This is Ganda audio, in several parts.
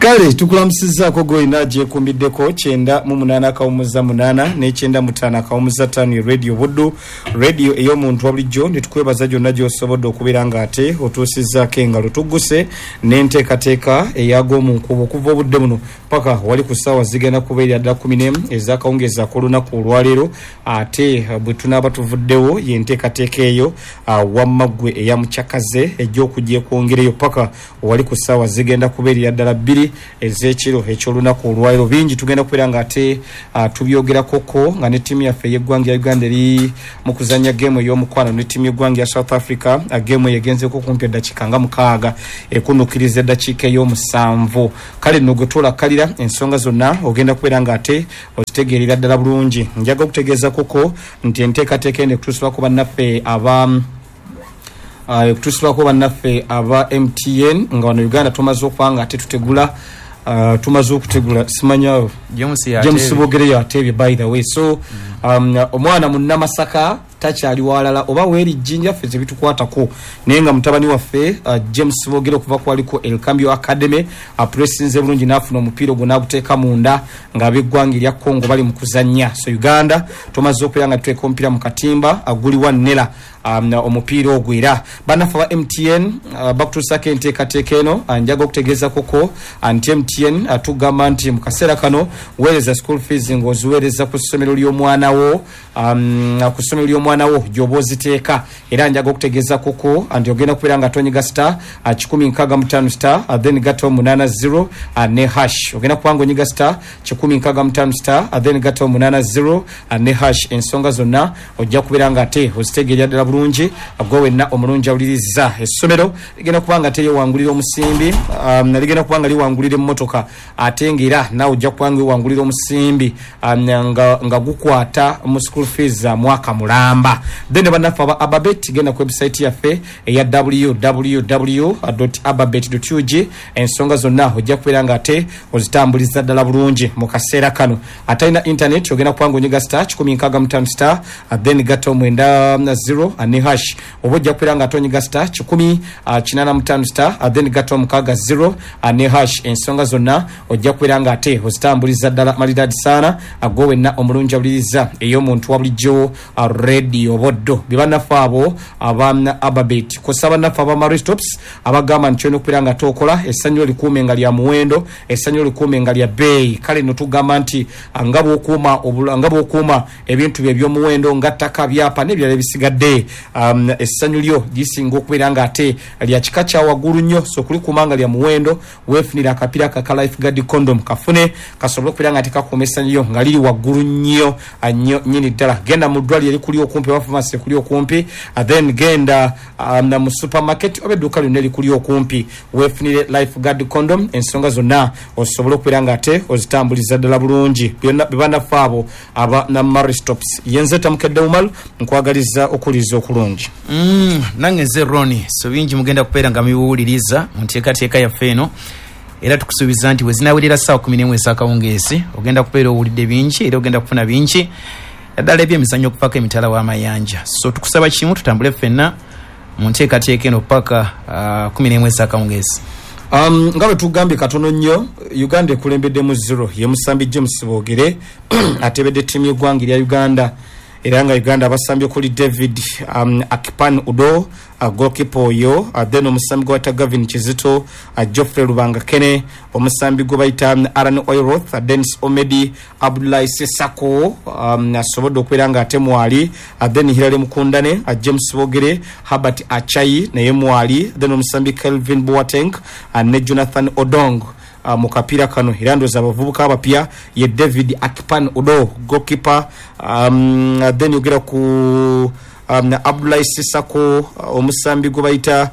Kale tukulamusizaako gwe agyekumbiddeko 98 akawumuza 8 ne 95 akawumuza 5, Radio Buddu, radio ey'omuntu wa bulijjo. Ne tukwebaza gyonna gy'osobodde okubeera ng'ate otuusizzaako engalo. Tugguse n'enteekateeka eyag'omu nkubo okuva obudde buno paka wali ku ssaawa zigenda kubeerera ddala 11 ez'akawungeezi ak'olunaku olwaleero. Ate bwe tunaaba tuvuddewo, yenteekateeka eyo wamma ggwe eya mukyakaze ejja okujja ekwongereyo paka wali ku ssaawa zigenda kubeerera ddala 2 ez'ekiro eky'olunaku olwaleero. Bingi tugenda kubeera nga ate tubyogerakoko nga ne ttiimu yaffe ey'eggwanga ya Uganda eri mu kuzannya geemu ey'omukwano ne ttiimu y'eggwanga ya South Africa. Geemu eyo egenzeko kumpi eddakiika nga 6, ekunukkiriza eddakiika ey'omusanvu. Kale nno gwe twolakkalira ensonga zonna ogenda kubeera nga ate ozitegeerera ddala bulungi. Njaga okutegeeza koko nti enteekateeka eno ekutuusibwako bannaffe aba ekutuusibwako bannaffe aba MTN, nga wano Uganda tumaze okuba nga ate tutegula, tumaze okutegula, simanya. James. James Bogereyo ateebye, by the way. So omwana munnamasaka takyali walala oba weeri jjinja ffe tebitukwatako, naye nga mutabani waffe James Bogere okuva kwaliko Elcambio Academy apressinze bulungi n'afuna omupiira ogwo n'aguteeka munda ng'ab'eggwanga erya Congo bali mu kuzannya. So Uganda tumaze okubeera nga tuteeka omupiira mu katimba guli wa nera omupiira ogwo. Era bannaffe aba MTN bakutuusako enteekateeka eno. Njaga okutegeeza koko nti MTN tugamba nti mu kaseera kano weereza school fees ng'oziweereza ku ssomero ly'omwana wo, ku ssomero ly'omwana wo gy'oba oziteeka. Era njaga okutegeeza koko nti ogenda kubeera nga tonyiga star 165 star, then gatta 80 ne hash. Ogenda kuba nga onyiga star 165 star, then gatta 80 ne hash. Ensonga zonna ojja kubeera nga ate ozitegeerera ddala bulungi. Gwe wenna omulungi awuliriza, essomero ligenda kuba nga ate lyewangulira omusimbi, ligenda kuba nga liwangulira emmotoka, ate ngaera naawe ojja kuba nga ewangulira omusimbi nga gukwata mu school fees za mwaka mulamba. Then bannaffe aba Ababet, genda ku website yaffe eya www ababet ug. Ensonga zonna ojja kubeera nga ate ozitambuliza ddala bulungi. Mu kaseera kano atalina internet ogenda kuba nga onyiga star 165 star, then gatta 90 ne hash, oba ojja kubeera nga ate onyiga star 185 star, then gatta 60 ne hash. Ensonga zonna ojja kubeera nga ate ozitambuliza ddala malidadi saana. Gwe wenna omulungi awuliriza ey'omuntu wa bulijjo, Radio Boddo, bye bannaffe abo aba Ababet kosa bannaffe aba Maristops abagamba nti olina okubeera nga tokola essanyu likuume nga lya muwendo, essanyu likuume nga lya bbeeyi. Kale nno tugamba nti nga bw'okuuma ebintu bye ebyomuwendo nga ttaka, byapa n'ebirala ebisigadde, essanyu lyo lisinga okubeera nga ate lya kika kya waggulu nnyo. So okulikuuma nga lya muwendo, weefunira akapiira kaka Life Guard condom, kafune kasobole okubeera nga tekakuuma essanyu lyo nga liri waggulu nnyo nnyo nnyini ddala. Genda mu ddwaliro erikuli okumpi oba famasi ekuli okumpi, then genda mu supermarket oba edduuka lyonna erikuli okumpi, weefunire Life Guard condom. Ensonga zonna osobola okubeera nga ate ozitambuliza ddala bulungi. Byonna bebannaffe abo aba na Maristops. Yenze Tamukedde Umal, nkwagaliza okuwuliriza okulungi. Nange nze Roni. So bingi mugenda kubeera nga mubiwuliriza mu nteekateeka yaffe eno, era tukusuubiza nti wezinaawulira ssaawa 11 ez'akawungeezi ogenda kubeera owulidde bingi era ogenda kufuna bingi naddala ebyemizannyo okuvaako emitala w'amayanja. So tukusaba kimu, tutambule ffenna mu nteekateeka eno paka 11 ez'akawungeezi. Nga bwe tugambye katono nnyo, Uganda ekulembeddemu 0, ye musambi James Bogere atebedde ttiimu y'eggwanga erya Uganda. Era nga Uganda abasambye okuli David Akipan Udo, goalkeeper oyo, then omusambi gwe bayita Gavin Kizito, Geoffrey Lubanga Kene, omusambi gwe bayita Aran Oiroth, Denis Omedi, Abdullahi Sesako asobodde okubeera nga ate mwali, then Hilary Mukundane, James Bogere, Herbert Achai naye mwali, then omusambi Kelvin Boateng ne Jonathan Odong mu kapiira kano. Era ndowooza abavubuka abapya ye David Akipan Udo, goalkeeper, then yogera ku Abdullahi Sisako, omusambi gwe bayita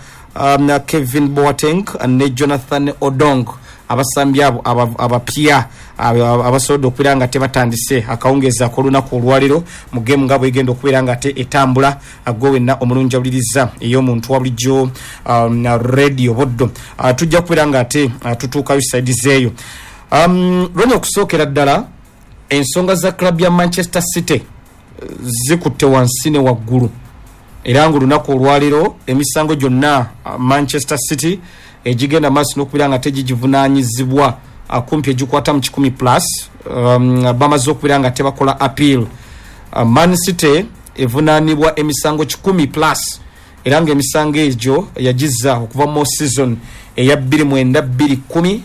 Kevin Boateng ne Jonathan Odong, abasambi abo abapya abasobodde okubeera nga tebatandise akawungeezi ak'olunaku olwaleero mu geemu nga bwegenda okubeera nga ate etambula. Gwe wenna omulungi awuliriza ey'omuntu wa bulijjo, Radio Boddo, tujja kubeera nga ate tutuukayo side zeeyo. Lwoni okusookera ddala, ensonga za club ya Manchester City zikutte wansi ne waggulu, era nga olunaku olwaleero emisango gyonna Manchester City Egigenda maaso n'okubeera nga tegigivunanyizibwa kumpi egikwata mu 100 plus bamaze okubeera nga tebakola appeal. Man City evunaanibwa emisango 100 plus, era nga emisango egyo yagizza okuva mu season eya 29-2010,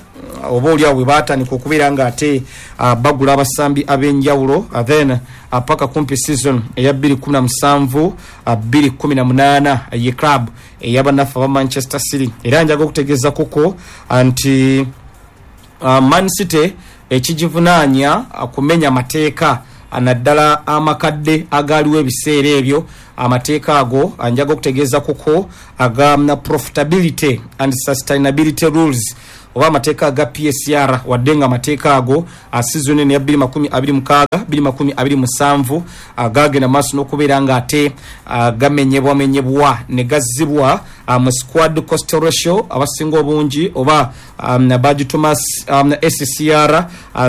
oba oliawo bwe baatandika okubeera nga ate bagula abasambi ab'enjawulo, then paka kumpi season eya 2017 2018 ye club ey'abannaffe aba Manchester City. Era njaga okutegeeza kuko nti Man City ekigivunaanya kumenya mateeka, naddala amakadde agaaliwo ebiseera ebyo. Amateeka ago njaga okutegeeza kuko aga profitability and sustainability rules, oba amateeka aga PSR, wadde nga amateeka ago season eno ya 2026 2027 gagenda maaso n'okubeera nga ate gamenyebwamenyebwa ne gazzibwa mu squad cost ratio, abasinga obungi oba bagituma SCR,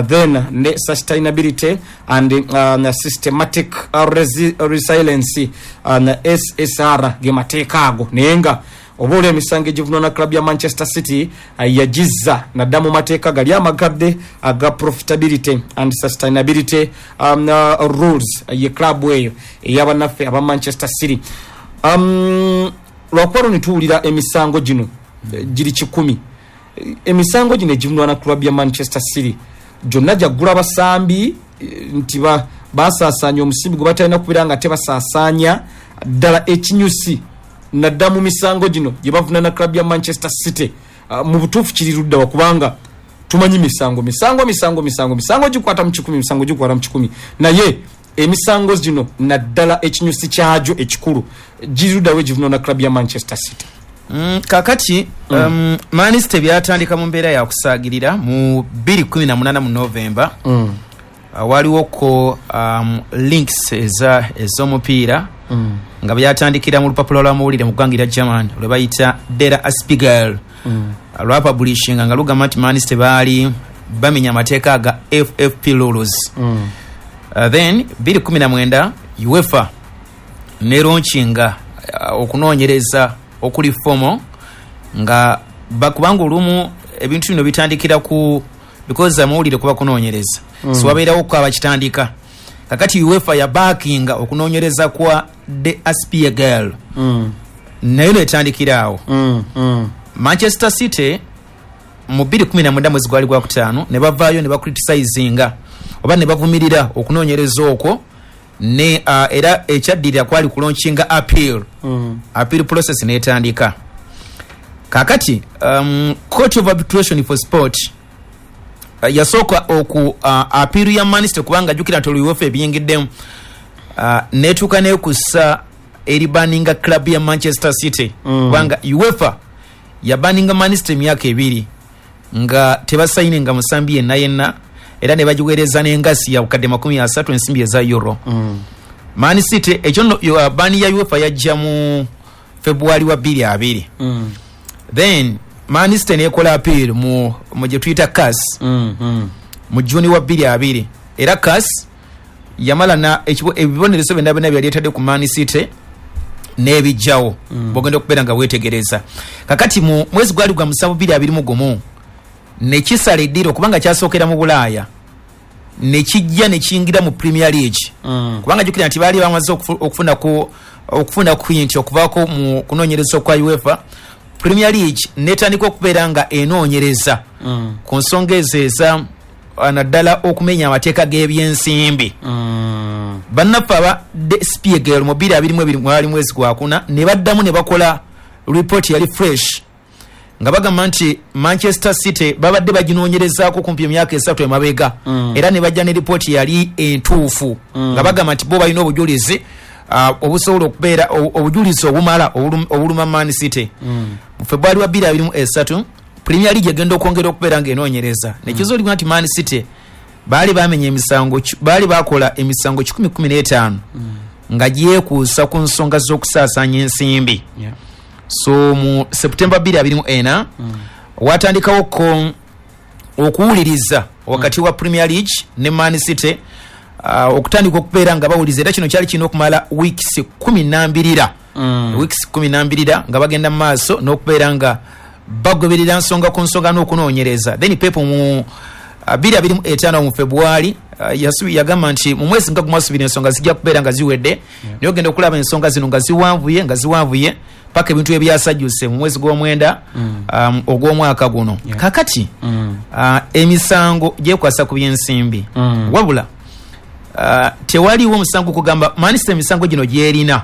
then ne sustainability and systematic resilience, SSR, ge mateeka ago. Naye nga oba oli emisango egivunwa club ya Manchester City yagizza nadda mu mateeka gali amakadde aga profitability and sustainability rules, ye club eyo ey'abannaffe aba Manchester City. Lwakuba lwo nituwulira emisango gino giri 100, emisango gino egivunwa na club ya Manchester City gyonna gyaggula basambi nti basaasaanya omusimbi gwe batalina kubeera nga tebasaasaanya. Ddala ekinyusi nadda mu misango gino gye bavunana club ya Manchester City mu butuufu kiri ludda wa? Kubanga tumanyi misango misango misango misango misango gikwata mu 100, misango gikwata mu 100, naye emisango gino naddala ekinyusi kyagyo ekikulu giri ludda wa egivunana club ya Manchester City? Kakati Man City byatandika mu mbeera yakusaagirira mu 2018 mu November. Waliwo ko links ez'omupiira nga byatandikira mu lupapula lw'amawulire mu ggwanga erya German lwe bayita Der Spiegel, lwapublishinga nga lugamba nti Man City baali bamenya amateeka aga FFP rules. Then 2019 UEFA nelaunchinga okunoonyereza okuli formal, nga bakubanga olumu ebintu bino bitandikira ku because amawulire kuba kunoonyereza, so wabeerawo ko abakitandika. Kakati UEFA yabackinga okunoonyereza kwa Der Spiegel, nayo netandikira awo. Manchester City mu 2019 mwezi gwali gwakutaano ne bavaayo ne bacriticinga oba ne bavumirira okunoonyereza okwo, ne era ekyaddirira kwali kulaunchinga appeal. Appeal process netandika. Kakati Court of Arbitration for Sport yasooka oku appeal ya Man City, kubanga jjukira nti olwo UEFA ebiyingiddemu, netuuka nekussa eribanninga club ya Manchester City, kubanga UEFA yabanninga Man City emyaka 2 nga tebasayininga musambi yenna yenna, era ne bagiweereza n'engasi ya bukadde 30 ensimbi eza euro. Man City ekyo nno ban ya UEFA yajja mu February wa 2020. Then Man City nekola appeal mu gye tuyita CAS mu Juni wa 2020, era CAS yamala na ebibonerezo byonna byonna byali etadde ku Man City n'ebijjawo. Bwogenda okubeera nga weetegereza, kakati mu mwezi gwali gwa 7 2021 nekisala eddiiro, kubanga kyasookera mu Bulaaya nekijja nekiyingira mu Premier League, kubanga jjukira nti baali bamaze okufuna quint okuvaako mu kunoonyereza kwa UEFA. Premier League netandika okubeera nga enoonyereza ku nsonga ezo eza naddala okumenya amateeka g'ebyensimbi. Bannaffe aba Der Spiegel mu 2022 mwali mwezi gwakuna ne baddamu ne bakola report yali fresh, nga bagamba nti Manchester City babadde baginoonyerezaako kumpi emyaka 3 emabega, era ne bajja ne report yali entuufu, nga bagamba nti bo balina obujulizi obusobola okubeera obujulizi obumala obuluma Man City. Mu February wa 2023 Premier League egenda okwongera okubeera ng'enoonyereza, nekizuulibwa nti Man City baali bamenya emisango, baali bakola emisango 115 nga gyekuusa ku nsonga z'okusaasaanya ensimbi. So mu September 2024 watandikawo ko okuwuliriza wakati wa Premier League ne Man City, okutandika okubeera nga bawuliriza, era kino kyali kirina okumala weeks 12, weeks 12 nga bagenda mu maaso n'okubeera nga Bagoberera nsonga ku nsonga n'okunoonyereza. Then Pep mu 2025 mu February yagamba nti mu mwezi nga gumu asubira ensonga zijja kubeera nga ziwedde. Naye ogenda okulaba ensonga zino nga ziwanvuye nga ziwanvuye paka ebintu ebyasajjuse mu mwezi gw'omwenda ogw'omwaka guno. Kakati emisango gyekwasa ku byensimbi. Wabula tewaliwo omusango kugamba Man City emisango gino gyerina.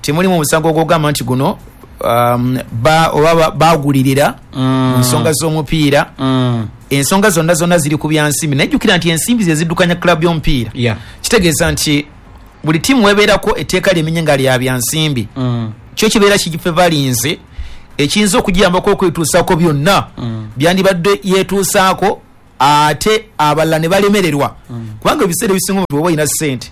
Temulimu omusango ogwogamba nti guno oba bagulirira mu nsonga z'omupiira. Ensonga zonna zonna ziri ku byansimbi. Najjukira nti ensimbi ze ziddukanya club y'omupiira. Kitegeeza nti buli ttiimu webeerako etteeka lyemenye nga lya byansimbi. Kyo kibeera kigifevalinze ekiyinza okugiyambako okwetuusaako byonna byandibadde yeetuusaako, ate abalala ne balemererwa. Kubanga ebiseera ebisinga omuntu bw'oba olina ssente,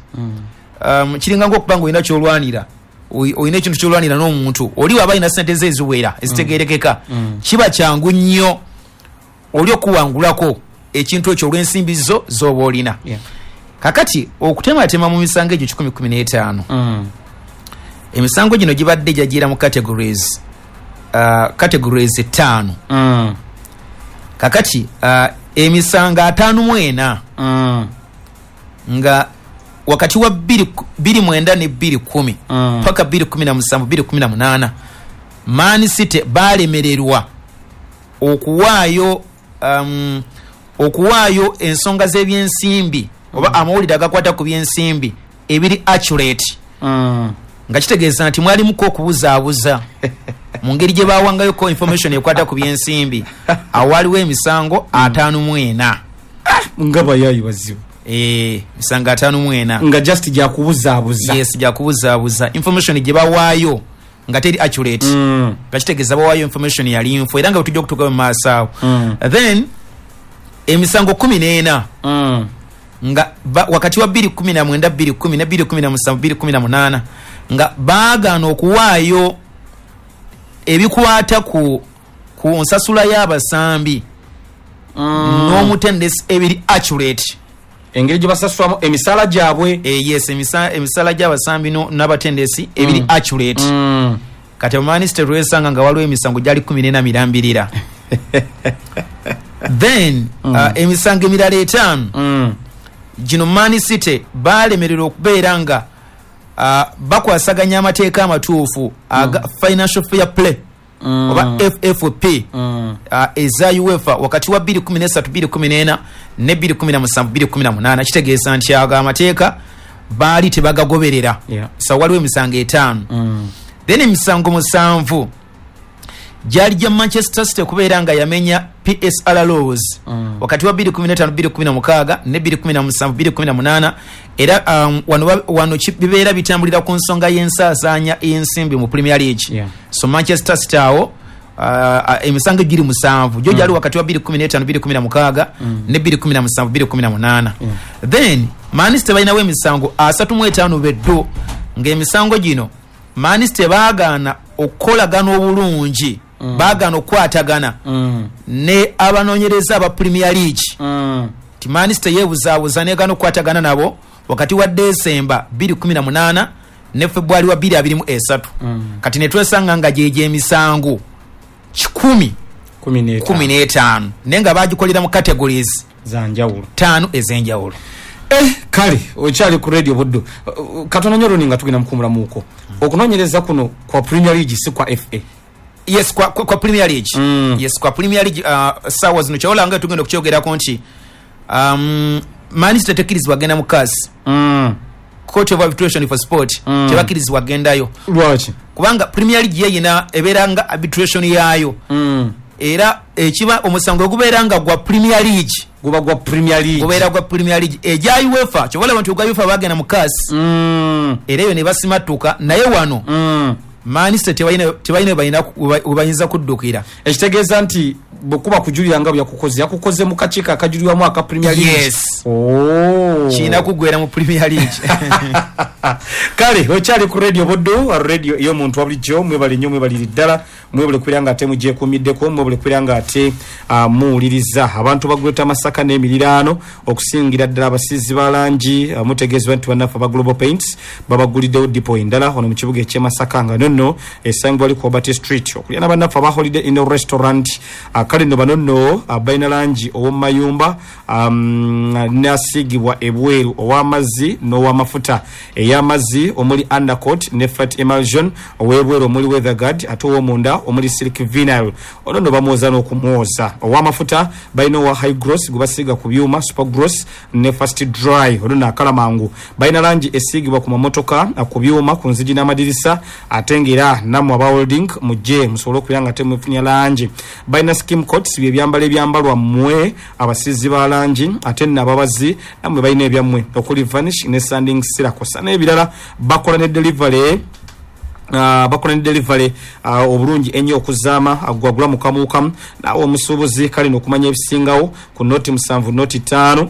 kiringa ng'okuba nga olina ky'olwanira, olina ekintu ky'olwanira n'omuntu oli waba alina ssente ze eziwera ezitegeerekeka, kiba kyangu nnyo oli okuwangulako ekintu ekyo olw'ensimbi zo z'oba olina. Kakati okutematema mu misango egyo 115, emisango gino gibadde gyagira mu categories 5. Kakati emisango 54 nga wakati wa 2 ne 210 paka 217 218 Man City balemererwa okuwaayo ensonga z'ebyensimbi oba amawulire agakwata ku byensimbi ebiri accurate. Nga kitegeeza nti mwalimuko okubuzaabuza mu ngeri gye bawangayoko information ekwata ku byensimbi. Awaliwo emisango 54. Nga bayayi bazibu. Emisango 54 nga just gyakubuzaabuza. Yes, gyakubuzaabuza information gye bawaayo nga teri accurate. Nga kitegeeza bawaayo information yali nfu, era nga tujja okutuuka mu maaso awo. Then emisango 14 nga wakati wa 219 210 ne 217 218 nga baagaana okuwaayo ebikwata ku nsasula y'abasambi n'omutendesi ebiri accurate. Engeri gye basasulamu emisaala gyabwe. Yes, emisaala gy'abasambi n'abatendesi ebiri accurate. Kati Man City lwesanga nga waliwo emisango gyali 14 mirambirira. Then emisango emirala 5 gino Man City balemererwa okubeera nga bakwasaganya amateeka amatuufu aga Financial Fair Play oba FFP eza UEFA wakati wa 2013 2014 ne 2017 2018. Kitegeeza nti ago amateeka baali tebagagoberera. So waliwo emisango 5. Then emisango 7 gyali gya Manchester City okubeera nga yamenya PSR laws wakati wa 2015 2016 ne 2017 2018. Era wano bibeera bitambulira ku nsonga y'ensaasaanya ensimbi mu Premier League. So Manchester City awo emisango giri 7 gyo gyali wakati wa 2015 2016 ne 2017 2018. Then Man City balinawo emisango 35 beddo, ng'emisango gino Man City baagaana okukolagana obulungi, baagaana okukwatagana ne abanoonyereza aba Premier League. Ti Man City yeebuzaabuza negaana okukwatagana nabo wakati wa Desemba 2018 ne February wa 2023. Kati ne twesanga nga gyegyo emisango 115 naye nga bagikolera mu categories za njawulo 5 ez'enjawulo. Kale okyali ku Radio Buddu. Katono nnyo Roni nga tugenda mukuumulamuuko. Okunoonyereza kuno kwa Premier League si kwa FA. Yes, kwa Premier League. Yes, kwa Premier League. Sawa zino kyola nga tugenda okukyogerako nti Man City tekkirizibwa genda mu CAS. Court of Arbitration for Sport tebakkirizibwa gendayo. Lwaki? Kubanga Premier League yeyina ebeera nga arbitration yaayo. Era ekiba omusango ogubeera nga gwa Premier League guba gwa Premier League, gubeera gwa Premier League egya UEFA. Kyobola nti ogwa UEFA bagenda mu CAS era eyo ne basimatuka. Naye wano Man City tebalina webayinza kuddukira. Ekitegeeza nti bwekuba kujulira nga bwe yakukoze mu kakiiko akajulirwamu aka Premier League. Yes. Kirina kuggwera mu Premier League. Kale okyali ku Radio Buddu, radio ey'omuntu wa bulijjo. Mwebale nnyo, mwebalire ddala, mwebale kubeera nga ate mugyekuumiddeko, mwebale kubeera nga ate muwuliriza. Abantu ba Greater Masaka n'emiriraano, okusingira ddala abasiizi ba langi, mutegeezebwa nti bannaffe aba Global Paints babaguliddewo dipo endala wano mu kibuga eky'e Masaka, nga nno Eno nno esangibwa li ku Obert Street, okulya n'abannaffe aba Holiday Inn Restaurant. Kale nno bano nno balina langi ow'omumayumba nasiigibwa ebweru, ow'amazzi n'ow'amafuta. Ey'amazzi omuli undercoat ne fat emulsion, ow'ebweru omuli weatherguard, ate ow'omunda omuli silk vinyl. Ono nno bamwoza n'okumwoza. Ow'amafuta balina owa high gloss gwe basiiga ku byuma, super gloss ne fast dry, ono nno akala mangu. Balina langi esiigibwa ku mamotoka, ku byuma, ku nzigi n'amadirisa, ate ng'era nammwe aba welding mujje musobole okubeera nga temufunya langi. Balina skim coats, bye byambalo ebyambalwa mmwe abasiizi ba langi, ate nno ababazi nammwe balina ebyammwe okuli varnish ne sanding sealer kw'ossa n'ebirala. Bakola ne delivery obulungi ennyo okuzaama gwagula mukamuukamu naawe omusuubuzi. Kale n'okumanya ebisingawo ku 0 7 0 5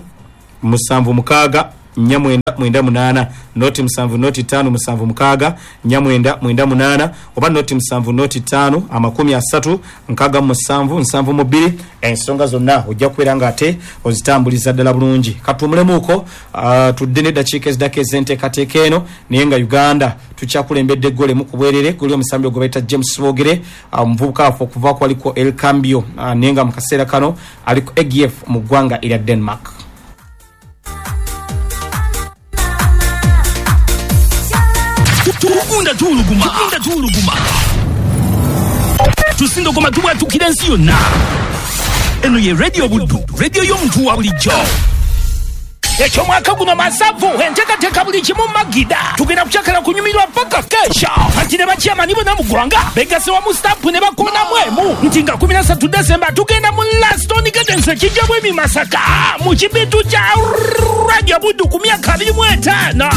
7 6 4 9 9 8, 0 7 0 5 7 6 4 9 9 8, oba 0 7 0 5 30 67 72. Ensonga zonna ojja kubeera nga ate ozitambuliza ddala bulungi. Katuwumulemuuko, tudde n'eddakiika eziddako ez'enteekateeka eno. Naye nga Uganda tukyakulembedde eggolo emu ku bwerere, guli omusambi ogwe bayita James Bogere, omuvubuka waffe okuva kwaliko El Cambio, naye nga mu kaseera kano ali ku AGF mu ggwanga erya Denmark. Tugunda tuwuluguma, tugunda tuwuluguma, tusindogoma, tubwatukira ensi yonna. Eno ye Radio Buddu, radio y'omuntu wa bulijjo. Ekyomwaka guno masavu, enteekateeka buli kimu magida. Tugenda kukyakala kunyumirwa paka kesha. Anti ne bakyamani bonna mu ggwanga begase wamu stampu ne bakonamu emu nti nga 13 Desemba tugenda mu Laston Gardens ekijja bwemi Masaka mu kibitu kya Radio Buddu ku myaka 25.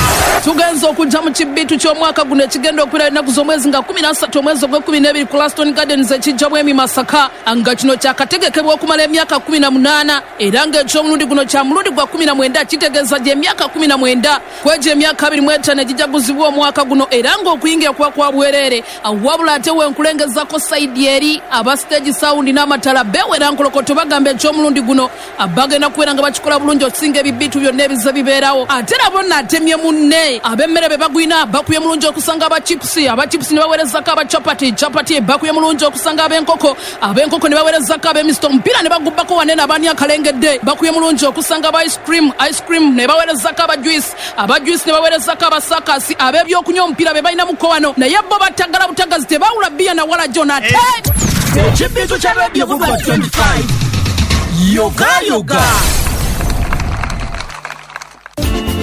Tugenza okujja mu kibitu ky'omwaka guno ekigenda okubeera ennaku z'omwezi nga 13 omwezi ogw'e12 ku Laston Gardens ekijja bwemi Masaka, nga kino kyakategekebwa okumala emyaka 18, era ng'ekyomulundi guno kya mulundi gwa 19. Kitegeeza gy'emyaka 19 kwegyo emyaka 25 egijaguzibwa omwaka guno, era ng'okuyingira kuba kwa bwereere. Wabula ate wenkulengezako side eri aba stage sound n'amatala bewera nkolokoto, bagamba ekyomulundi guno bagenda kubeera nga bakikola bulungi okusinga ebibitu byonna ebize bibeerawo. Ate nabo naatemye munne ab'emmere be bagwina bakubye mulungi okusanga abachipusi, abachipusi ne baweerezako abachapati, chapati bakubye mulungi okusanga ab'enkoko, ab'enkoko ne baweerezako ab'emisito, omupiira ne bagubbako wanene abaani akalengedde bakubye mulungi okusanga aba ice cream, ice cream ne baweerezako aba juice, aba juice ne baweerezako abasakasi, ab'ebyokunywa omupiira be balinamuko wano, naye bo batagala butagazi, tebawula bbiya na wala jona ate Ekibitu kya Radio Buddu 25 yoga yoga.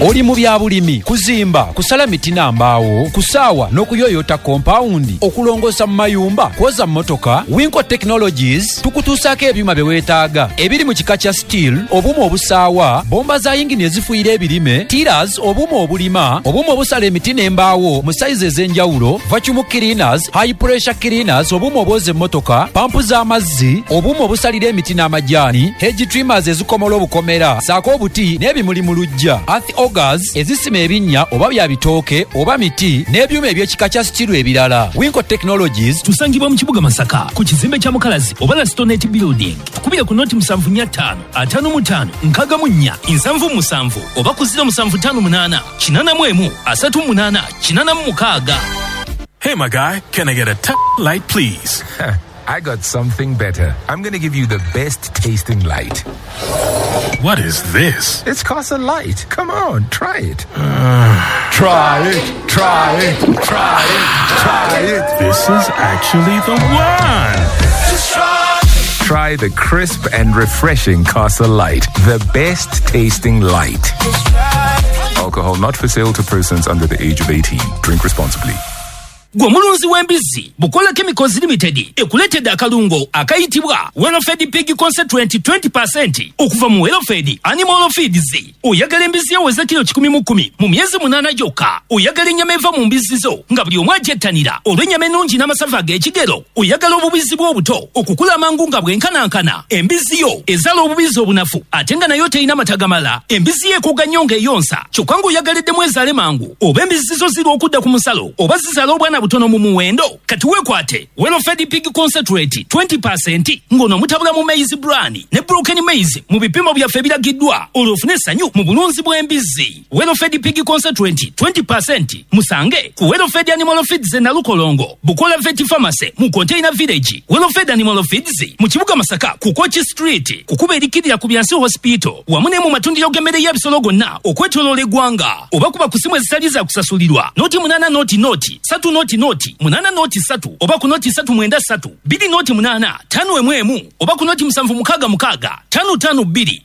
Oli mu bya bulimi, kuzimba, kusala miti na mbaawo, kusaawa n'okuyoyota kompawundi, okulongoosa mu mayumba, kwoza mmotoka, Winco Technologies tukutuusaako ebyuma bye weetaaga ebiri mu kika kya steel, obuuma obusaawa, bomba za yingini ezifuyira ebirime, tillers, obuuma obulima, obuuma obusala emiti n'embaawo mu sayizi ez'enjawulo, vacuum cleaners, high pressure cleaners, obuuma obwoza emmotoka, pampu z'amazzi, obuuma obusalira emiti n'amajaani, hedge trimmers ezikomola obukomera saako obuti n'ebimuli mu luggya, earth augers ezisima ebinnya oba bya bitooke oba miti, n'ebyuma eby'ekika kya steel ebirala. Winco Technologies. Tusangibwa mu kibuga Masaka ku kizimbe kya Mukalazi oba Lastonet Building. Tukubire ku 075 55 64 77 oba ku 0758 81 38 86. Hey, my guy, can I get a t- light, please? I got something better. I'm going to give you the best tasting light. What is this? It's Casa Light. Come on, try it. Try it, try it, try it, try it. This is actually the one. Try the crisp and refreshing Casa Light, the best tasting light. Alcohol not for sale to persons under the age of 18. Drink responsibly. Gwe omulunzi w'embizzi, Bukola Chemicals Limited ekuleetedde akalungo akayitibwa Welfed Pig Concentrate 20 okuva mu Welfed Animal Feeds. Oyagala embizzi eweze kilo 110 mu myezi 8 gyokka? Oyagala ennyama eva mu mbizzi zo nga buli omu agyettanira olw'ennyama ennungi n'amasavu ag'ekigero? Oyagala obubizzi bw'obuto okukula amangu nga bwenkanankana? Embizzi yo ezaala obubizzi obunafu ate nga nayo terina mata gamala? Embizzi yo ekoga nnyo ng'eyonsa kyokka ng'oyagaliddemu ezaale mangu? Oba embizzi zo zirwa okudda ku musalo oba zizaala obwana? butono mu muwendo. Kati weekwate Welfed Pig Concentrate 20% ng'ono mutabula mu maize bran ne broken maize mu bipimo byaffe ebiragiddwa, olwo ofune essanyu mu bulunzi bw'embizzi. Welfed Pig Concentrate 20% musange ku Welfed Animal Feeds e Nalukolongo, Bukola Vet Pharmacy mu Container Village, Welfed Animal Feeds mu kibuga Masaka ku Kochi Street, kukuba erikirira ku Byansi Hospital, wamu ne mu matundiro g'emmere y'ebisolo gonna okwetooloola eggwanga, oba kuba ku simu ezitali za kusasulirwa 0 8 0 0 3 0 0 8 0 3 oba ku 0 3 9 3 2 0 8 5 1 oba ku 0 7 6 6 5 5 2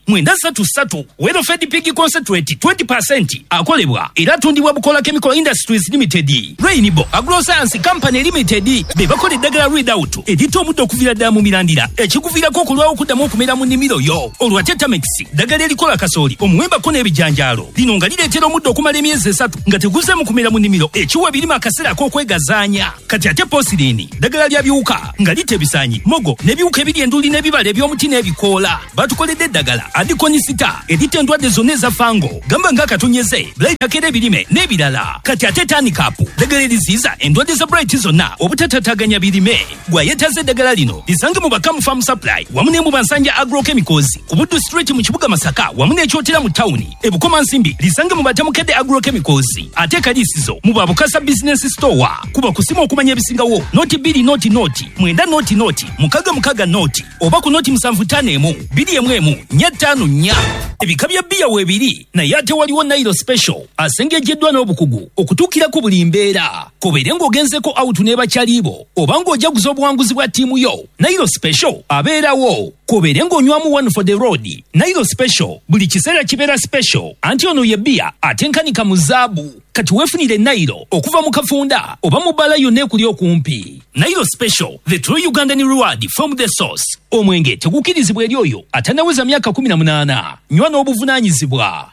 9 3 3. Welfed Pig Concentrate 20% akolebwa era atundibwa Bukola Chemical Industries Limited. Rainbow Agroscience Company Limited be bakola eddagala Readout eritta omuddo okuviira ddala mu mirandira, ekikuviirako okulwawo okuddamu okumera mu nnimiro yo. Olwo ate Tamex ddagala erikola kasooli, omuwembako n'ebijanjaalo, lino nga lireetera omuddo okumala emyezi 3 nga teguzeemu kumera mu nnimiro, ekiwa ebirime akaseera ak'okwegazaanya. Kati ate Posirini ddagala lya biwuka nga litta ebisaanyi, mogo n'ebiwuka ebiri enduli n'ebibala eby'omuti n'ebikoola. Batukoledde eddagala Adikonisita eritta endwadde zonna eza fango, gamba ng'akatonyeze, blight ebirime n'ebirala. Kati ate Tanikapu ddagala eriziyiza endwadde za blight zonna obutatataganya birime. Gwayetaze eddagala lino lisange mu Bakamu Farm Supply wamu ne mu Bansanja Agrochemicals ku Buddu Street mu kibuga Masaka, wamu n'ekyotera mu tawuni ebukoma nsimbi lisange mu Batamukedde Agrochemicals, ate Kalisizo mu Babukasa Business Store. Kuba kusimu okumanya ebisingawo 0 2 0 0 9 0 0 6 6 0 oba ku 0 7 5 1 2 1 4 5 4. Ebika bya bbiya weebiri, naye ate waliwo Nairo Special asengejeddwa n'obukugu okutuukira ku buli mbeera, kobeere ng'ogenzeko out ne bakyalibo oba ng'ojaguza obuwanguzi bwa ttiimu yo, Nairo Special abeerawo. Kobeere ng'onywamu one for the road, Nairo Special buli kiseera kibeera special, anti ono ye bbiya atenkanika mu zaabu. Kati weefunire Nairo okuva mu kafunda oba mu bbala yonna ekuli okumpi. Nairo Special, the true Ugandan reward from the source. Omwenge tegukkirizibwa eri oyo atannaweza myaka 18. Nywa n'obuvunaanyizibwa.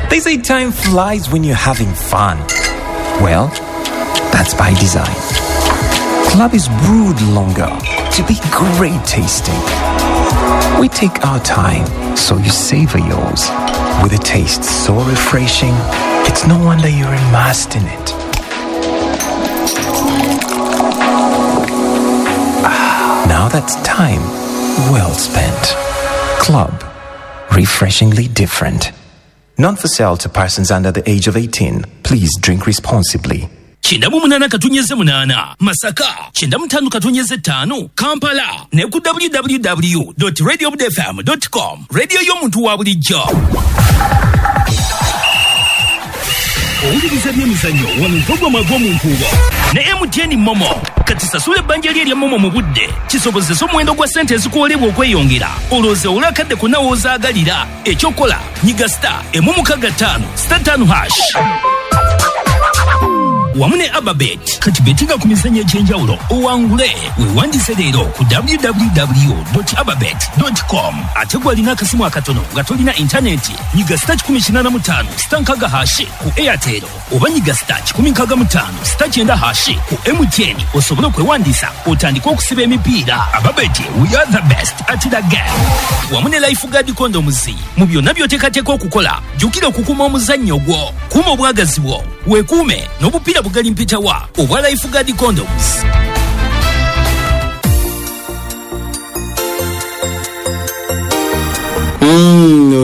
They say time flies when you're having fun. Well, that's by design. Club is brewed longer to be great tasting. We take our time so you savor yours. With a taste so refreshing, it's no wonder you're immersed in it. Ah, now that's time well spent. Club, refreshingly different. Not for sale to persons under the age of 18. Please drink responsibly. 98.8 Masaka, 95.5 Kampala, ne ku www.radiobudfm.com. Radio y'omuntu wa bulijjo. Owuliriza byemizannyo wano mpogwa ag'omunkuubo ne MTN Momo. Kati sasula ebbanja lye erya Momo mu budde kisobozesa omuwendo gwa ssente ezikuwolebwa okweyongera, olowooza olwakadde konna w'ozaagalira. Ekyokola nyiga star 165 star 5 hash wamu ne Ababet. Kati betinga ku mizannyo egy'enjawulo owangule. Weewandise leero ku www.ababet.com. Ate gw'alina akasimu akatono nga tolina intaneti, nyiga star 185 star 6 hash ku Airtel oba nyiga star 165 star 9 hash ku MTN osobole okwewandiisa otandike okusiba emipiira. Ababet, we are the best at the game. Wamu ne Lifeguard Condoms. Mu byonna by'oteekateeka okukola, jjukira okukuuma omuzannyo gwo, kuuma obwagazi bwo, weekuume n'obupiira bugali mpitawa obwa Lifeguard Condoms.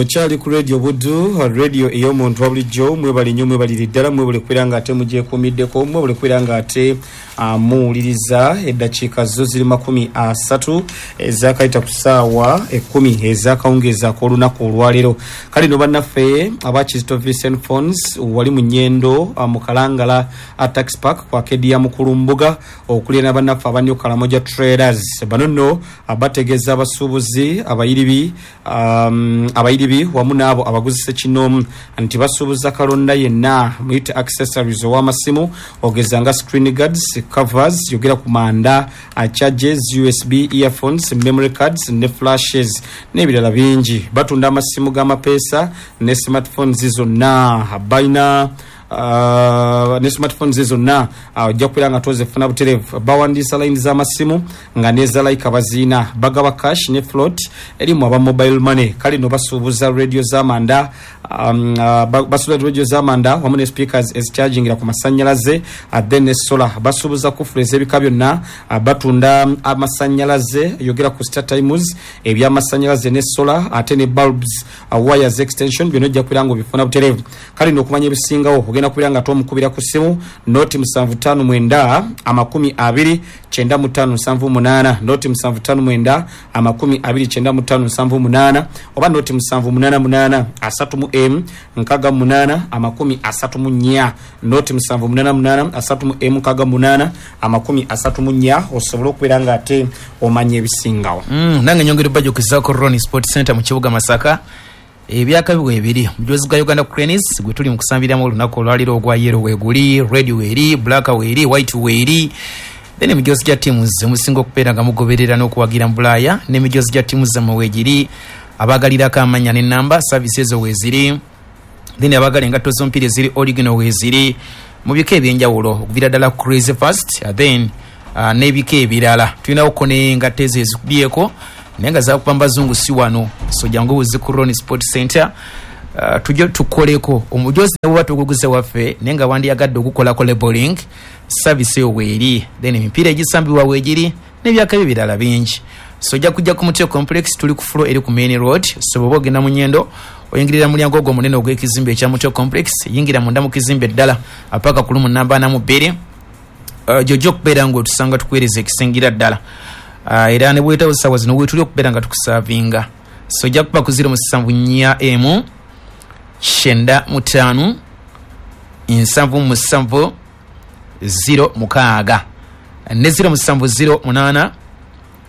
Okyali ku Radio Buddu, radio ey'omuntu wa bulijjo. Mwebale nnyo, mwebalire ddala, mwebale kubeera nga ate mugyekuumiddeko, mwebale kubeera nga ate muwuliriza. Eddakiika zo ziri 30 ezakayita ku ssaawa 10 ezakawungeezi ak'olunaku olwaleero. Kale no bannaffe aba Kizito Vincent Phones wali mu Nyendo, mu Kalangala Tax Park ku arcade ya Mukulumbuga, okulya n'abannaffe aba New Kalamoja Traders. Bano nno bategeeza abasuubuzi abayiribi, abayiribi wamu n'abo abaguzisa kinoomu nti basuubuza kalonda yenna muyite accessories ow'amasimu, ogeza nga screen guards, covers, yogera ku manda, charges, USB earphones, memory cards ne flashes n'ebirala bingi. Batunda amasimu g'amapeesa ne smartphones zonna balina, ne smartphones zonna ojja kubeera nga tozifuna butereevu. Bawandiisa layini z'amasimu nga neza layika baziina, bagaba cash ne float erimu aba mobile money. Kale no basuubuza radio z'amanda, Basuubuza radio z'amanda wamu ne speakers ezichargingira ku masannyalaze, then ne solar. Basuubuza kufula ez'ebika byonna, batunda amasannyalaze, yogera ku Star Times, ebyamasannyalaze ne solar, ate ne bulbs, wires, extension, byonna ojja kubeera nga obifuna butereevu. Kale nno okumanya ebisingawo ogenda kubeera nga tomukubira ku ssimu 079 20 95 78, 079 20 95 78, oba 0788 30 M 68 34, 0788 30 M 68 34, osobole okubeera nga ate omanya ebisingawo. Nange nyongera obajjukizaako Ronnie Sport Center mu kibuga Masaka, ebyakabi weebiri, omujozi gwa Uganda Cranes gwe tuli mu kusambiramu olunaku olwaliro, ogwa yellow weeguli, red weeri, black weeri, white weeri, then emijozi gya ttiimu zemusinga okubeera nga mugoberera n'okuwagira mu Bulaaya n'emijozi gya ttiimu zammwe weegiri. Abaagalirako amannya n'ennamba, service ezo weeziri. Then abaagala engatto z'omupiira eziri original weeziri mu bika ebyenjawulo, okuviira ddala Crazy Fast, then n'ebika ebirala. Tulinawoko n'engatto ezo ezikubyeko naye nga zakuba mbazungu, si wano. So jangu buzi ku Ronnie Sport Center, tujje tukoleko omujozi ne bw'oba tuguguze waffe naye nga wandiyagadde okukolako labeling, service eyo weeri. Then emipiira egisambibwa weegiri n'ebyakabi ebirala bingi. So ojja kujja ku Mutio Complex, tuli ku floor eri ku main road. So bw'oba ogenda mu Nyendo, oyingirira mulyango ogwo omunene ogw'ekizimbe ekya Mutio Complex, yingira munda mu kizimbe ddala apaka ku lumu namba 42, gy'ojja okubeera ng'otusanga tukuweereza ekisingira ddala. Era ne bwetawo ssaawa zino weetuli okubeera nga tukusaavinga. So ojja kuba ku 074 95 77 06 ne 0708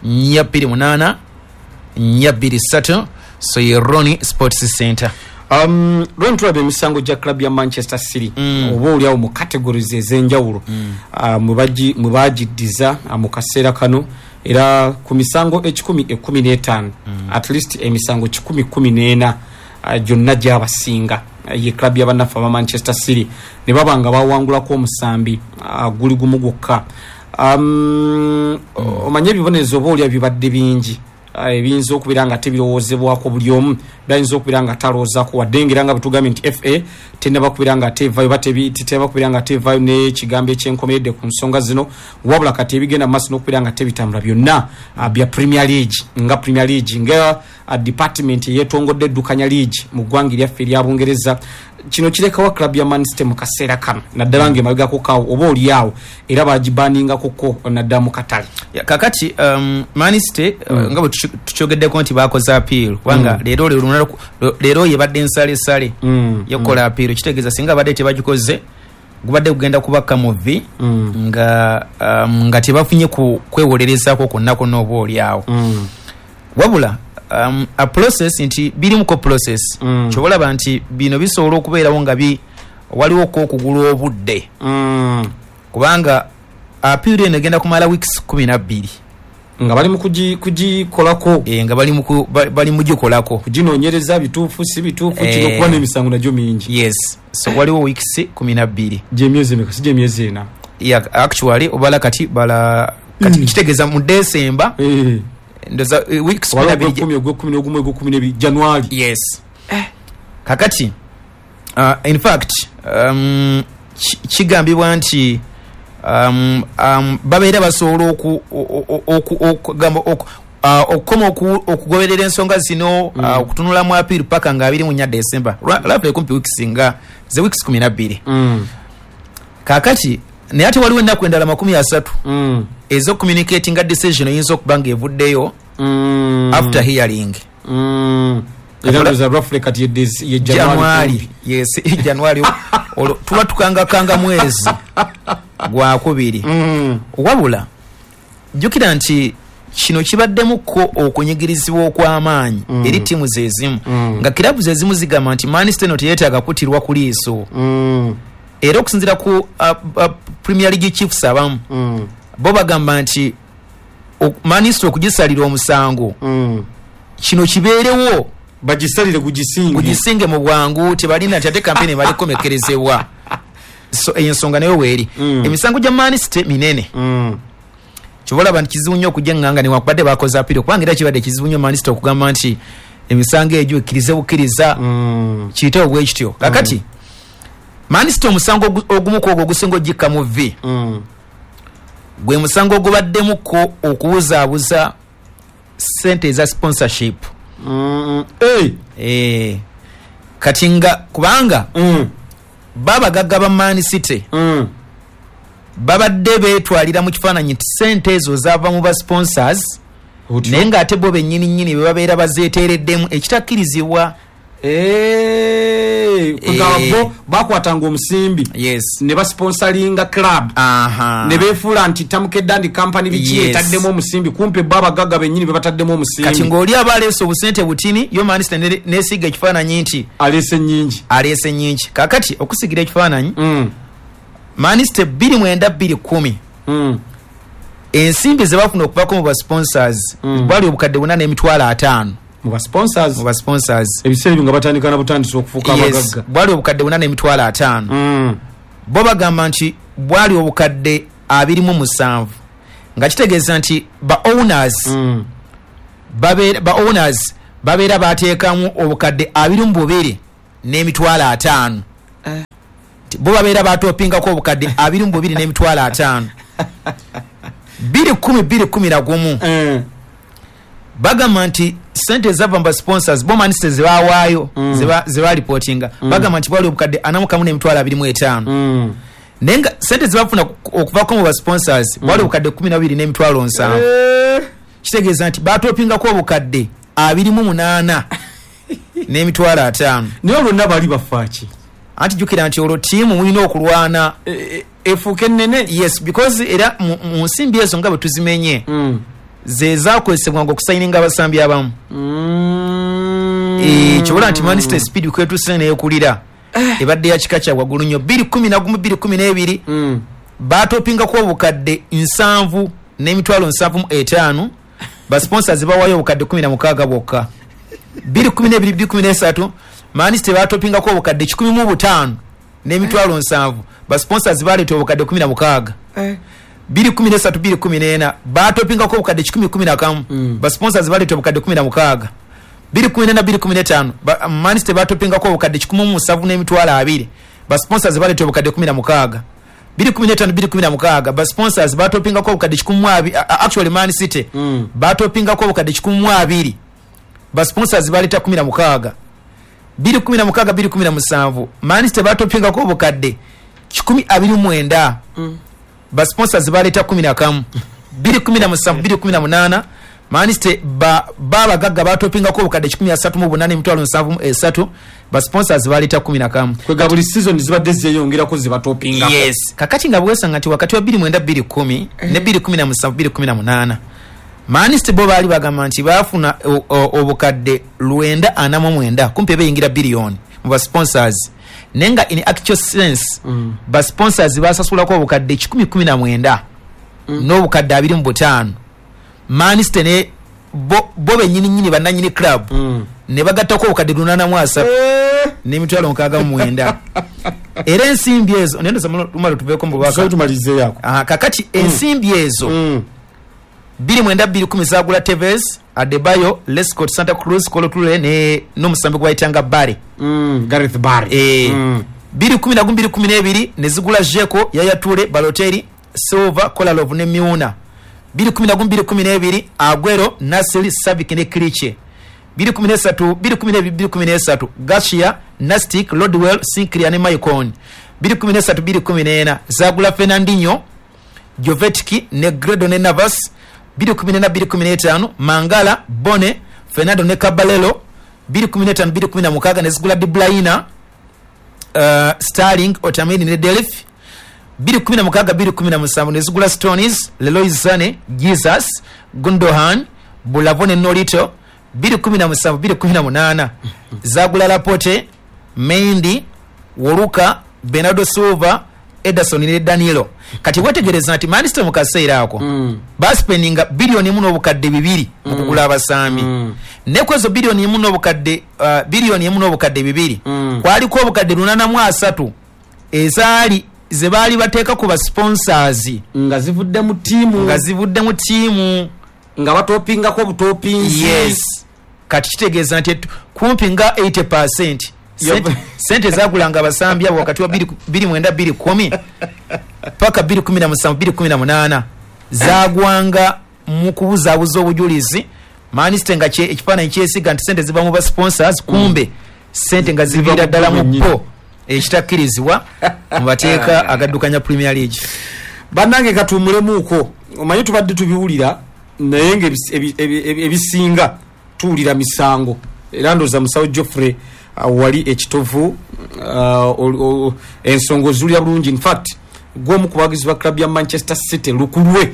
428 423. So ye Ronnie Sports Center. Ron, tulaba emisango gya club ya Manchester City, oba oliawo mu categories ez'enjawulo mwe bagiddiza mu kaseera kano, era ku misango 115, at least emisango 114 gyonna gyabasinga ye club y'abannaffe aba Manchester City, ne baba nga bawangulako omusambi guli gumu gwokka. Omanye ebibonerezo oba olya bibadde bingi, ebiyinza okubeera nga tebirowoozebwako buli omu, byayinza okubeera nga talowoozaako, wadde ngera nga bwetugambye nti FA tennaba kubeera nga teevaayo, oba tenaba kubeera nga teevaayo n'ekigambo ekyenkomeredde ku nsonga zino. Wabula kati ebigenda mu maaso n'okubeera nga tebitambula byonna bya Premier League, nga Premier League nga department eyeetongodde eddukanya league mu ggwanga eryaffe erya Bungereza. Kino kirekawa club ya Man City mu kaseera kano, naddala ng'emabegako kaawo oba oliawo era bagibaningakoko naddala mu katale? Ya, kakati Man City, nga bwe tukyogeddeko nti bakoze appeal, kubanga leero leero yebadde ensalesale yokukola appeal. Kitegeeza singa badde tebagikoze, gubadde kugenda kubakka muvi nga tebafunye ku kwewolerezaako kwonna kwonna oba oliawo. Wabula a process nti birimuko process, kyobalaba nti bino bisobola okubeerawo nga waliwo ko okugula obudde, kubanga appeal eno egenda kumala weeks 12 nga bali mu kugikolako. Nga bali mu gikolako, kuginoonyereza bituufu si bituufu, kino kuba n'emisango nagyo mingi. Yes, so waliwo weeks 12. Gyemyezi emeka? Si gyemyezi 4? Yeah, actually obala kati bala kati, kitegeeza mu December, ndoza weeks 12, ogwekumi, ogwekumi n'ogumu, ogwekumi n'ebiri, January. Yes. Kakati in fact kigambibwa nti babeera basobola okukoma okugoberera ensonga zino, okutunulamu appeal paka nga 24 December, roughly kumpi weeks nga ze weeks 12. Kakati naye ate waliwo ennaku endala 30 ez'ocommunicatinga decision eyinza okuba nga evuddeyo after hearing. Era ndoza roughly kati ye January. Yes, January olwo tuba tukangakanga mwezi gwakubiri. Wabula jjukira nti kino kibaddemukko okunyigirizibwa okw'amaanyi eri ttiimu zeezimu, nga kirabu zeezimu zigamba nti Man City eno teyeetaaga kutirwa ku liiso. Era okusinziira ku Premier League chiefs abamu, bo bagamba nti Man City okugisalira omusango, kino kibeerewo, bagisalire gugisinge, gugisinge mu bwangu, tebalina nti ate kampeni emala ekomekerezebwa. So eyo ensonga nayo weeri. Emisango gya Man City minene, kyoba olaba nti kizibu nnyo okujja eŋŋanga newankubadde bakoze appeal, kubanga era kibadde kizibu nnyo Man City okugamba nti Emisango egyo ekkirize bukkiriza, kiyitewo bwe kityo. Kakati Man City, omusango ogumu ku ogwo ogusinga ogikka mu v, gwe musango ogubaddemuko okuwuzaabuza sente eza sponsorship. Hey. Kati nga kubanga babagagga ba Man City babadde beetwalira mu kifaananyi nti sente ezo zava mu ba sponsors, naye ng'ate bo bennyini nnyini be babeera bazeeteereddemu, ekitakkirizibwa. Kugamba bo bakwatanga omusimbi ne basponsoringa club, ne beefuula nti Tamukedda ndi company biki etaddemu omusimbi, kumpe bo abagagga bennyini be bataddemu Kati omusimbi. Ng'oli aba aleese obusente butini, yo Man City nesiiga ekifaananyi nti aleese nnyingi. Aleese nnyingi. Kakati okusigira ekifaananyi, Man City 2009 2010, ensimbi ze bafuna okuvako mu ba sponsors bwali obukadde 450,000. Mu ba sponsors? Mu ba sponsors. Ebiseera ebyo nga batandika na butandisi okufuuka abagagga. Bwali obukadde 450,000. Bo bagamba nti bwali obukadde 27, nga kitegeeza nti ba owners ba owners babeera bateekamu obukadde 22,500. Nti bo babeera batopingako obukadde 22,500. 2010 2011, bagamba nti sente ezava mu ba sponsors bo Man City zebawaayo, zebalipotinga, bagamba nti bwali obukadde 41,025, naye nga sente zebafuna okuvako mu ba sponsors bwali obukadde 12,700,000. Kitegeeza nti batopingako obukadde 28,500. Naye olwonna bali bafaaki? Anti jjukira nti olwo ttiimu mulina okulwana efuuke ennene. Yes, because era mu nsimbi ezo nga bwe tuzimenye, ze zakozesebwanga okusayininga abasambi abamu. Kyobola nti Man City speed kwetuse neyekulira ebadde ya kika kya waggulu nnyo. 2011 2012, batopingako obukadde 70,075, ba sponsors bawayo obukadde 16 bwokka. 2012 2013, Man City batopingako obukadde 105,070, ba sponsors baleeta obukadde 16. 2013 2014, batopingako obukadde 111, ba sponsors baleeta obukadde 16. 2014 2015, Man City batopingako obukadde 172,000, ba sponsors baleeta obukadde 16. 2015 2016, ba sponsors batopingako obukadde 120, actually Man City batopingako obukadde 120, ba sponsors baleeta 16. 2016 2017, Man City batopingako obukadde 129, ba sponsors baleeta 11. 2017 2018, Man City babagagga batopingako obukadde 138,073, ba sponsors baleeta 11. Kwega buli season zibadde zeyongerako zibatopingako. Yes. Kakati nga bwesanga nti wakati wa 29 210 ne 2017 2018, Man City bo baali bagamba nti baafuna obukadde 949, kumpi beyingira biliyoni mu ba sponsors, naye nga in actual sense ba sponsors basasulako obukadde 119 n'obukadde 25. Man City ne bo bennyini nnyini bannannyini club ne bagattako obukadde 830 n'emitwalo 69. Era ensimbi ezo nendo lumalo tuveeko mu bubaka. So tumalizeeyako. Aha, kakati ensimbi ezo 29 2010 zagula Tevez, Adebayo, Lescott, Santa Cruz, Kolo Toure ne n'omusambi gwe bayitanga Barry. Gareth Barry. 2011 2012 ne zigula Dzeko, Yaya Toure, Balotelli, Silva, Kolarov ne Milner. 2011 2012, Aguero, Nasri, Savic ne Clichy. 2013 2012 2013, Garcia, Nastic, Rodwell, Sinclair ne Maicon. 2013 2014 zagula Fernandinho, Jovetic, Negredo ne Navas. 2014 2015, Mangala, Bone, Fernando ne Caballero. 2015 2016 ne zigula De Bruyne, Sterling, Otamendi ne Delph. 2016 2017 ne zigula Stones, Leroy Sane, Jesus, Gundogan, Bravo ne Nolito. 2017 2018 zagula Laporte, Mendy, Walker, Bernardo Silva, Ederson ne Danilo. Kati wetegereza nti Man City mu kaseera ako baspendinga 1.2 biliyoni mu kugula abasambi, ne kwezo biliyoni 1 n'obukadde 1.2 biliyoni kwaliko obukadde 830 ezaali ze baali bateeka ku ba sponsors nga zivudde mu ttiimu, nga zivudde mu ttiimu, nga batopingako obutopinzi. Yes. Kati kitegeeza nti kumpi nga 80% sente zagulanga abasambi abo wakati wa 29 210 paka 217 218 zagwanga mu kubuzaabuza obujulizi. Man City nga ekifaananyi kyesiga nti sente ziva mu ba sponsors, kumbe sente nga ziviira ddala mu po, ekitakkirizibwa mu mateeka agaddukanya Premier League. Bannange, katuwummulemuuko. Omanyi tubadde tubiwulira, naye nga ebisinga tuwulira misango. Era ndowooza musawo Geoffrey wali ekitovu ensonga oziwulira bulungi. Infact gwomu ku bawagizi ba club ya Manchester City lukulwe,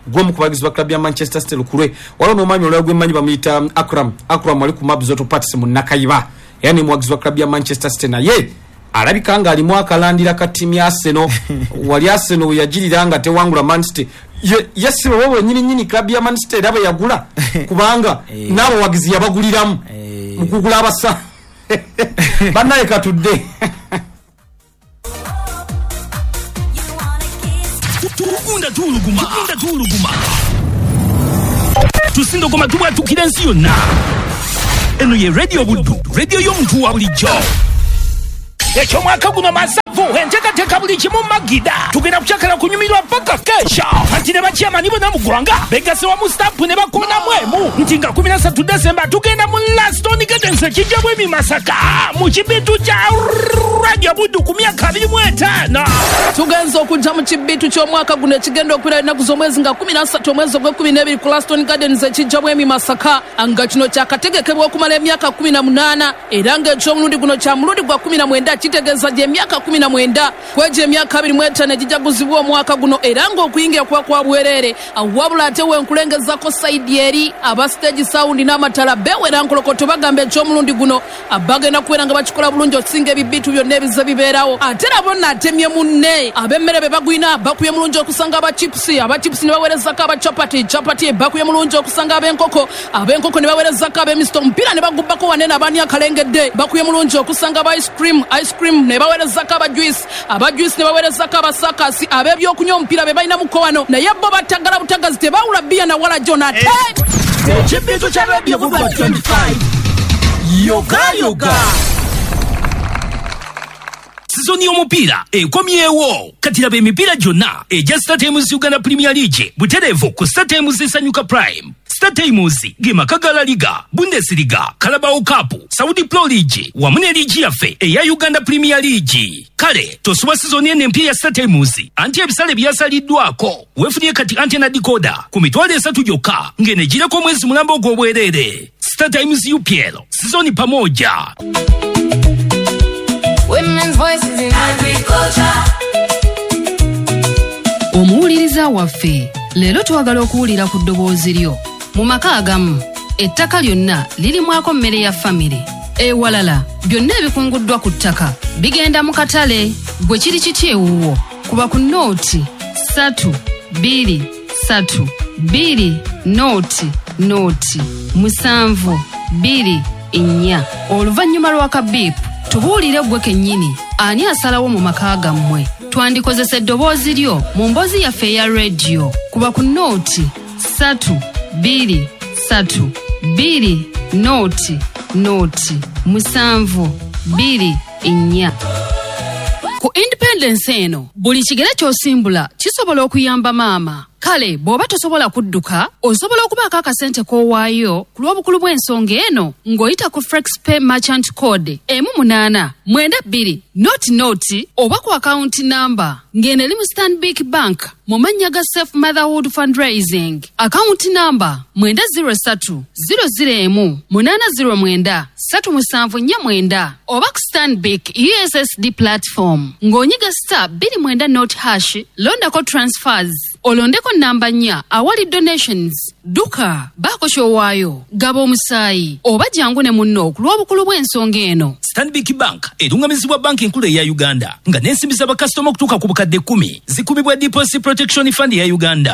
gwomu ku bawagizi ba club ya Manchester City lukulwe. Waliwo n'omwami olala gwemmanyi, bamuyita Akram. Akram wali ku Mabs Auto Parts mu Nakayiba, era ne muwagizi wa club ya Manchester City, naye alabika nga alimu akalandira ka ttiimu ya Arsenal. Wali Arsenal we yagirira nga tewangula Man City, ye si bo wenyini nyini club ya Man City era bwe yagula, kubanga n'abawagizi yabaguliramu mu kugula abasa. Bannaye, katudde. Tugunda tuwuluguma, tugunda tuwuluguma, tusindogoma, tubwatukira ensi yonna. Eno ye Radio Buddu, radio y'omuntu wa bulijjo. Ekyomwaka guno masavu, enteekateeka buli kimu magida. Tugenda kukyakala kunyumirwa paka kesha. Kati ne bakyamani bonna mu ggwanga begase wamu stampu ne bakonamu emu nti nga 13 Desemba tugenda mu Laston Gardens ekijja bwemi Masaka mu kibitu kya Radio Buddu ku myaka 25. Tugenza okujja mu kibitu ky'omwaka guno ekigenda okubeera ennaku z'omwezi nga 13 omwezi ogw'e12 ku Laston Gardens ekijja bwemi Masaka, nga kino kyakategekebwa okumala emyaka 18, era ng'ekyomulundi guno kya mulundi gwa 19. Kitegeeza gy'emyaka 19 kwegyo emyaka 25 egijaguzibwa omwaka guno, era ng'okuyingira kuba kwa bwereere. Wabula ate wenkulengezako side eri aba stage sound n'amatala bewera nkolokoto bagamba ekyomulundi guno bagenda kubeera nga bakikola bulungi okusinga ebibitu byonna ebize bibeerawo. Ate nabo naatemye munne ab'emmere be bagwina bakubye mulungi okusanga aba chips, aba chips ne baweerezako aba chapati, chapati bakubye mulungi okusanga ab'enkoko, ab'enkoko ne baweerezako ab'emisto, omupiira ne bagubbako wanene abaani akalengedde bakubye mulungi okusanga aba ice cream, ice cream ne baweerezako aba juice, aba juice ne baweerezako abasakasi. Ab'ebyokunywa omupiira be balina muko wano, naye bo batagala butagazi, tebawula bbiya na wala jona ate Ekibitu kya Radio Buddu 25 yoga yoga. Sizoni y'omupiira ekomyewo. Kati laba emipiira gyonna egya StarTimes Uganda Premier League butereevu ku StarTimes Sanyuka Prime. StarTimes ge maka ga La Liga, Bundesliga, Carabao Cup, Saudi Pro League wamu ne liigi yaffe eya Uganda Premier League. Kale tosubwa sizoni eno empya ya StarTimes, anti ebisale byasaliddwako. Weefunye kati antenna decoder ku 30,000 gyokka ng'eno egireko omwezi mulamba ogw'obwereere. StarTimes UPL sizoni pamoja. Women's voices in agriculture. Omuwuliriza waffe, leero twagala okuwulira ku ddoboozi lyo. Mu maka agamu ettaka lyonna lirimwako mmere ya famire, ewalala byonna ebikunguddwa ku ttaka bigenda mu katale. Gwe kiri kiti ewuwo? Kuba ku 0 3 2 3 2 0 0 7 2 4. Oluvannyuma lwa kabiipu tubuulire ggwe kennyini ani asalawo mu maka gammwe. Twandikozesa eddoboozi lyo mu mboozi yaffe eya rediyo. Kuba ku 0 3 2 3 2 0 0 7 2 4. Ku Independence eno buli kigere ky'osimbula kisobola okuyamba maama. Kale bw'oba tosobola kudduka, osobola okubaako akasente k'owaayo ku lw'obukulu bw'ensonga eno ng'oyita ku FlexPay merchant code 1892 00 oba ku akawunti namba ng'eno eri mu Stanbic Bank mu mannya ga Safe Motherhood Fundraising, akawunti namba 903 001 809 3749, oba ku Stanbic USSD platform ng'onyiga *29#, londako transfers, olondeko namba 4 awali donations. Dduka, baako ky'owaayo, gaba omusaayi oba jangu ne munno ku lw'obukulu bw'ensonga eno. Stanbic Bank erungamizibwa Banki Enkulu eya Uganda, nga n'ensimbi z'abakasitoma okutuuka ku 10,000 zikubibwa Deposit Protection Fund eya Uganda.